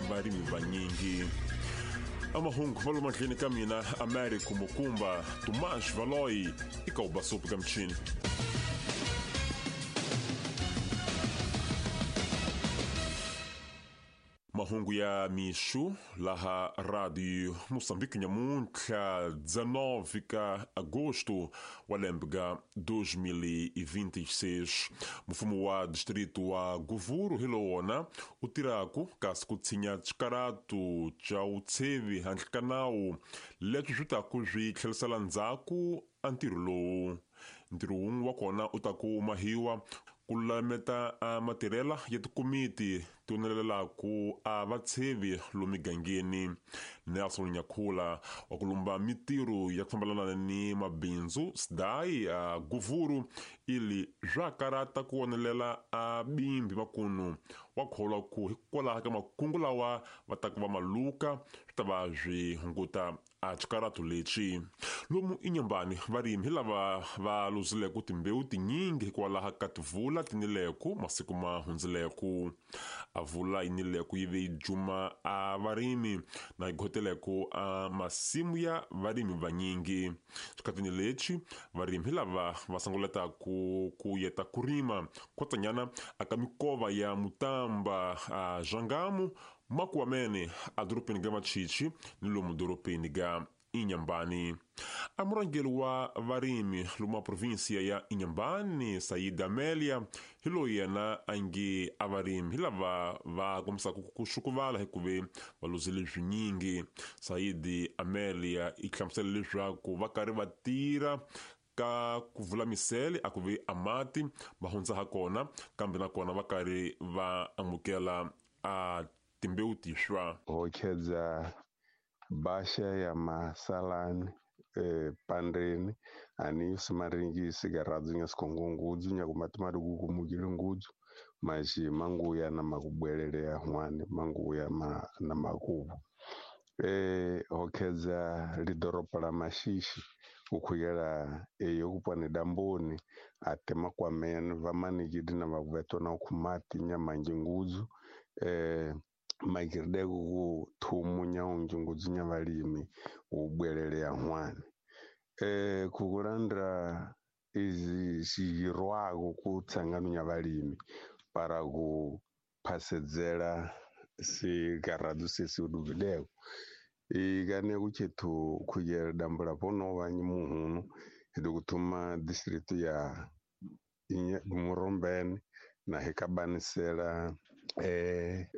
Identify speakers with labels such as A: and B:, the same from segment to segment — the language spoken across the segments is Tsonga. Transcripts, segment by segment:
A: Varimi vanyingi. Amahungu va lomu mahlweni ka mina Americo Mukumba Tomas Valoyi eka Ubasupu ka michini. Mahungu ya mixo laha Radio Moçambique nyamuntlha 19 ka agosto wa lembe ga 2026. Mfumo wa distrito wa Govuro hi lowona u tirhaku kasi ku tshinya xikaratu xa vutshevi handle ka nawu leswi swi taku swi tlherisela ndzhaku a ntirho lowu. Ntirho wun'we wa kona u ta ku mahiwa ku lulameta a matirhela ya tikomiti ti onelelaku a vatshevi lomu migangeni. Nelson Nyakhula wa ku lumba mitirho ya ku fambelana ni mabindzu SDAI a Govuro ili swa karata ku onelela a bimbi makunu wa kholwa ku hikwalaho ka makungu lawa va ta ku va maluka swi ta va swi hunguta a xikaratu lexi. Lomu Inhambane varimi hi lava va luzileko timbewu tinyingi hikwalaho ka tivula tinileko masiku ma hundzileko. A vula yinileko yi ve yi juma a varimi na yi goteleko a masimu ya varimi vanyingi. Xikhatini lexi varimi hi lava va sunguletaku ku yeta ku rima kwatsanyana aka mikova ya Mutamba a Zhangamu Makuamene a dorobeni ga Machichi ni lomu dorobeni ga Inhambane. A murhangeri wa varimi lomu provinsia ya Inhambane Said Amelia hi loyi yena a nge a varimi hi lava va kombisaka ku xukuvala hikuve va luzile swinyingi. Said Amelia i hlamusela leswaku va karhi va tirha ka ku vula misele a ku ve a mati va hundza ha kona kambe nakona va karhi va amukela a timbewu tixwa.
B: Hokhedza basha ya masalani pandreni ani simaringisi garadzu nya sikhongongudzu nya kumati kukumukile ngudzu mashi manguya na makubwelele ya hwane manguya ma, na makubu hokhedza lidoropo la Mashishi ukhuyela eyo kupwane damboni ate makwamene vamanikidi na vavetwa na ukhumati nyamanji ngudzu makirideko ku thumu nyaunji ngudzu nya valimi ubwelele ya hwane kukulandra izi xiyirwako ku tsangano nya valimi para ku phasedzela sigaradu sesi uduvideko ikane kuchethu khuyela dambula ponova muhunu hidu kuthuma district ya Murombeni na hikabanisela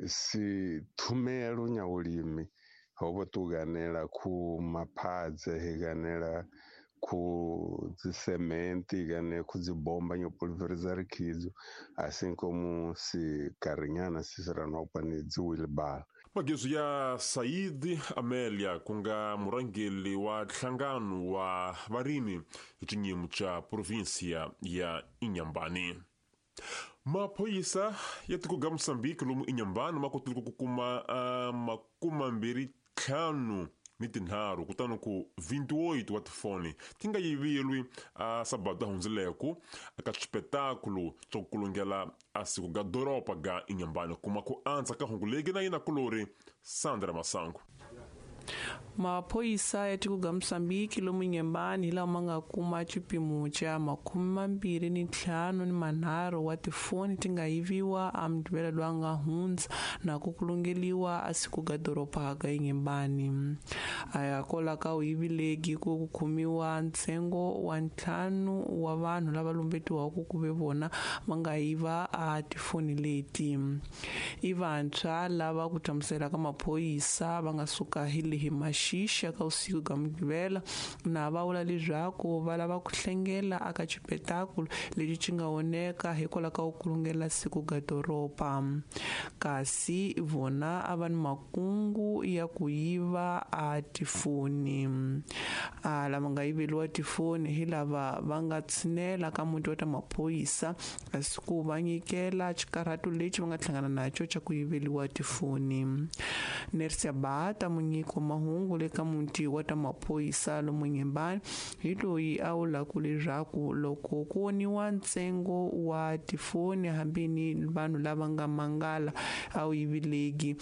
B: si thumelo nya ulimi ho tuganela ku maphadze higanela ku dzisementi gane ku dzibomba nyo pulverizar khidzo assim como si karinyana sisiranopa ni dzi wheelbarrow.
A: Magezu ya Said Amelia ku nga murhangeri wa nhlangano wa varimi hi xinyimo xa provinsia ya Inhambane. Maphoyisa ya tiko ga Mozambique lomu Inhambane ma kotile ku kuma 25 kutani ku 28 wa tifoni ti nga yivilwi a sabado hundzileko aka xipetakulu xa ku kulungela a siku ga doropa ga Inhambane. Kuma ku andza ka hungu legi na yina kulori Sandra Masango.
C: Maphoyisa ya tiko ga Mozambique lomu Inhambane hi lama nga kuma xipimo xa 25 wa tifoni ti nga yiviwa a Mugqivela lowu nga hundza na ku kulungeliwa a siku ga doroba ga Inhambane. A ya kola ka u yivilegi ku khumiwa ntsengo wa 5 wa vanhu lava lumbetiwaka ku ve vona va nga yiva a tifoni leti. I vantshwa lava ku hlamusela ka maphoyisa va nga suka hi lehi Mashishi ka usiku ga Mugqivela na va vula leswaku va lava ku hlengela aka xipetakulu lexi xi nga oneka hikwalaho ka ku kulungela siku ga doroba. Kasi vona a va ni makungu ya ku yiva a tifoni. A lava nga yiveliwa tifoni hi lava va nga tshinela ka muti wa ta maphoyisa kasi ku va nyikela xikarhato lexi va nga hlangana naxo xa ku yiveliwa tifoni. Nersia Bata munyiki wa mahungu le ka muti wa ta maphoyisa lomu Inhambane hi loyi a vulaku leswaku loko ku voniwa ntsengo wa tifoni hambi ni vanhu lava nga mangala a wu yivileki.